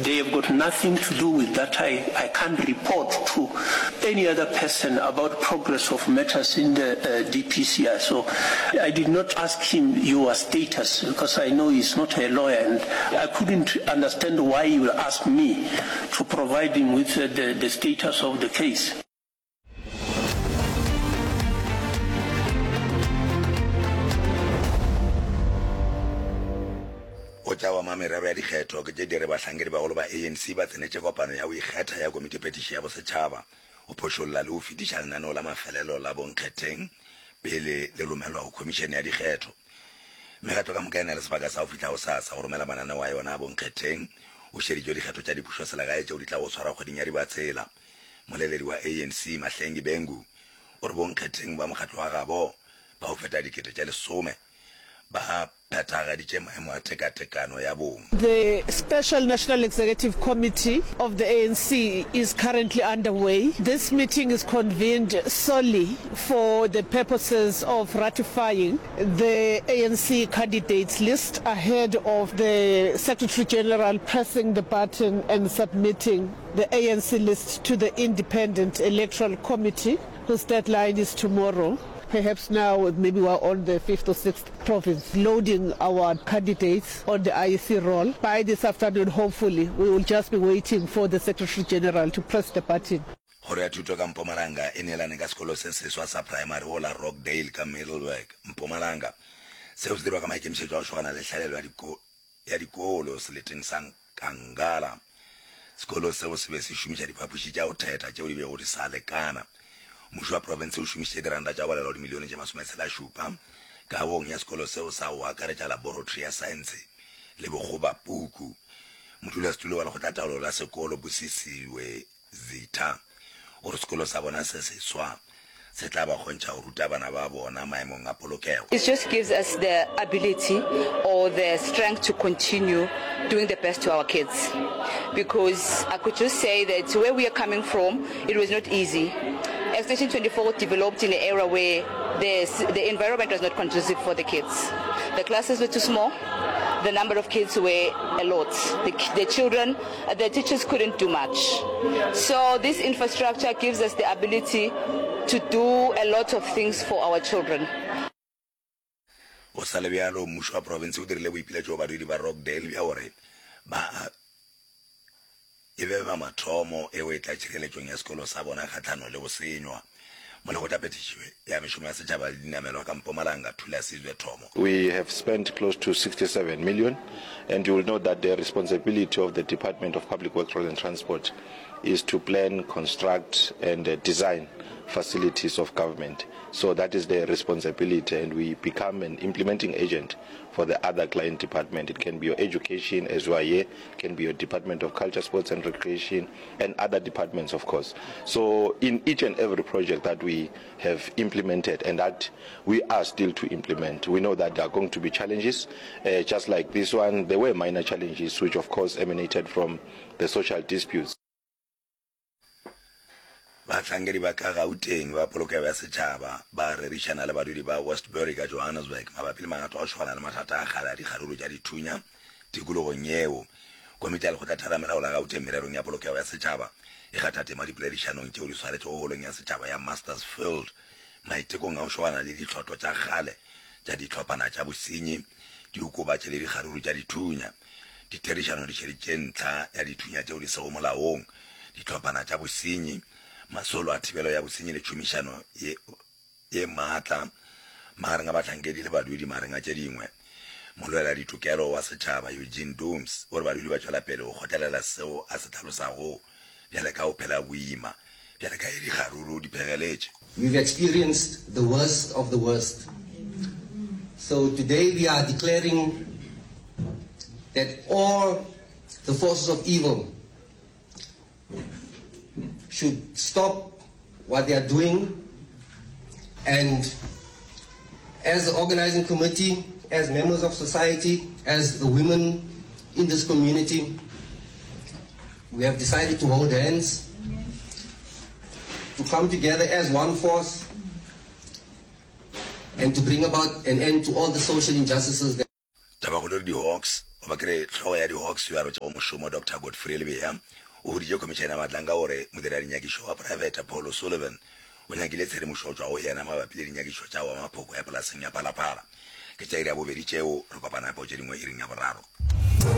They have got nothing to do with that. I, I can't report to any other person about progress of matters in the uh, DPCI. So I did not ask him your status because I know he's not a lawyer and I couldn't understand why he will ask me to provide him with uh, the, the status of the case. Go tša wa merero ya dikgetho ke tše di re bahlankedi bagolo ba ANC ba tsenetše kopano ya go ikgetha ya komitiphethiši ya bosetšhaba go phošolla le go fetiša lenaneo la mafelelo la bonkgetheng pele le romelwa go khomišene ya dikgetho. Mekgatlo ka moka e na le sebaka sa go fihla gosasa go romela mananeo a yona a bonkgetheng go šeditšwe dikgetho tša dipušoselegae tšeo di tlago go swarwa kgweding ya Dibatsela. Moleledi wa ANC, Mahlengi Bhengu, o re bonkgetheng ba mokgatlo wa gabo ba go feta 10,000 ba phethagaditše maemo a tekatekano ya bong. The Special National Executive Committee of the ANC is currently underway. This meeting is convened solely for the purposes of ratifying the ANC candidates list ahead of the Secretary General pressing the button and submitting the ANC list to the Independent Electoral Committee, whose deadline is tomorrow. Perhaps now maybe we're on the fifth or sixth province loading our candidates on the IEC roll. By this afternoon, hopefully, we will just be waiting for the Secretary General to press the button. Kgoro ya Thuto ka Mpumalanga e neelane ka sekolo se seswa sa praemari go la Rockdale ka Middelburg, Mpumalanga. Seo se dirwa ka maikemišetšo a go šogana le hlaelelo ya ya dikolo seleteng sa Nkangala. Sekolo seo se be se šomiša diphapoši tša go thetha tšeo di bego di sa lekana. Mmušo wa profense o šomišitše diranta tša go balelwa dimilione tše masometshelašupa kagong ya sekolo seo sa go akaretša laboratory ya saense le bokgobapuku. Modulasetulo wa lekgotlataolo la sekolo, Busisiwe Zitha o re sekolo sa bona se seswa se tla ba kgontšha go ruta bana ba bona maemong a polokego. It just gives us the ability or the strength to continue doing the best to our kids because I could just say that where we are coming from, it was not easy. Extension 24 developed in an era where the, the environment was not conducive for the kids. The classes were too small, the number of kids were a lot. The, the children The teachers couldn't do much. So this infrastructure gives us the ability to do a lot of things for our children. Go sa le bjalo, mmušo wa profense o dirile boipiletšo go badudi ba Rockdale bja gore ba e be ba mathomo e go etla tšhireletšong ya sekolo sa bona kgahlanong le go senywa. Molekgotlaphethiši ya mešomo ya setšhaba le dinamelwa ka Mpumalanga, Thulasizwe Thomo. We have spent close to 67 million and you will know that the responsibility of the Department of Public Works Roads and Transport is to plan, construct and design facilities of government. So that is the responsibility and we become an implementing agent for the other client department. It can be your education as we are here, it can be your Department of Culture, Sports and Recreation and other departments of course. So in each and every project that we have implemented and that we are still to implement, we know that there are going to be challenges, uh, just like this one, there were minor challenges which of course emanated from the social disputes. Bahlankedi ba ka Gauteng ba polokego ya setšhaba ba rerišana le badudi ba Westbury ka Johannesburg mabapi le magato a go šogana le mathata a kgale a dikgaruru tša dithunya tikologong yeo. Komiti ya Lekgotlatheramelao la Gauteng mererong ya polokego ya setšhaba e kgatha tema dipoledišanong tšeo di swaretšego holong ya setšhaba ya Masters Field maitekong a go šogana le ditlhotlo tša kgale tša dihlophana tša bosenyi, diokobatši le dikgaruru tša dithunya. Ditherišano di šeditše ntlha ya dithunya tšeo di sego molaong, dihlophana tša bosenyi, masolo a thibelo ya bosenyi le tšhomišano ye ye maatla magareng a bahlankedi le badudi magareng a tše dingwe. Molweladitokelo wa setšhaba Eugene Dooms o re badudi ba tšwela pele go kgotlelela seo a se hlalosago bjale ka go phela boima bjale ka ge dikgaruru di phegeletše. We've experienced the worst of the worst. So today we are declaring that all the forces of evil should stop what they are doing and as the organizing committee, as members of society, as the women in this community, we have decided to hold hands, to come together as one force, and to bring about an end to all the social injustices that Tabakgolo re di-Hawks. Goba ke re, hlogo ya di-Hawks yo a rotšego mošomo, Doctor Godfrey Lebeya, o boditše Khomišene ya Matlanka gore modiradinyakišo wa poraefete Paul O'Sullivan o nyakile tshedimošo go tšwa go yena mabapi le dinyakišo tša wa maphoko ya polaseng ya Phalaphala. Ke tša iri ya bobedi tšeo, re kopana gape go tše dingwe iring ya boraro.